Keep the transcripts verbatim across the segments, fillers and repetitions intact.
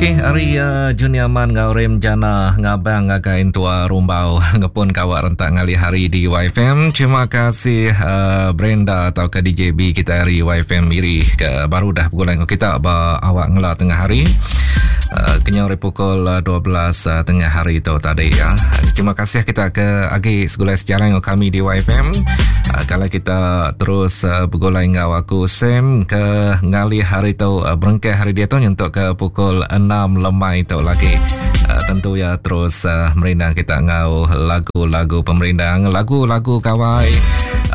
Okey, hari uh, Junior Man ngau Rem Jana ngabang ngagai entua rumbau ngepun kawak rentak ngalih hari di Y F M. Terima kasih uh, Brenda atau ke D J B kita hari Y F M Miri ke baru dah bergulai dengan kita ba awak ngela tengah hari. Uh, kenyau hari pukul dua belas uh, tengah hari tu tadi ya. Terima kasih kita ke agi segulai sejarah dengan kami di Y F M. Uh, kalau kita terus uh, bergulai dengan aku Sam ke ngalih hari tu uh, berengkeh hari dia tu untuk ke pukul enam lemai tu lagi. Uh, tentu ya terus uh, merindang kita ngau lagu-lagu pemerindang, lagu-lagu kawai.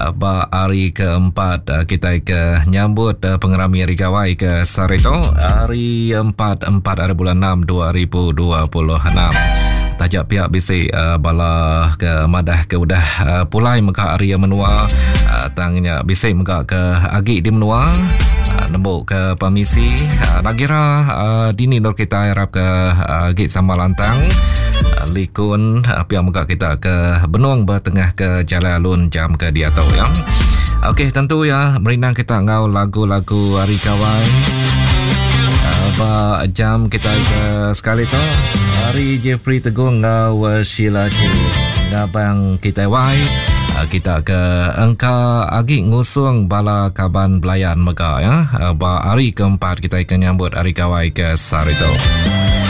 Uh, ba hari keempat uh, kita ke nyambut uh, pengerami hari gawai ke Sarito hari empat empat hari bulan enam dua ribu dua puluh enam. Tajak pihak bisi uh, bala ke madah ke udah uh, pulai mega hari menua uh, tangnya bisi mega ke agi di menua uh, nembuk ke permisi uh, nagira uh, dini nur kita harap ke uh, agi sama lantang uh, likun uh, pihak mega kita ke benung bertengah ke jalan alun jam ke dia tau ya. Okey, tentu ya merindang kita ngau lagu-lagu hari kawai. Ba jam kita ke sekali tu hari Jeffrey Teguh ngau Sheila G ngabang kita wai kita ke engka agi ngusung bala kaban belayan mega ya. Ba hari keempat kita akan nyambut hari gawai ke Sarito.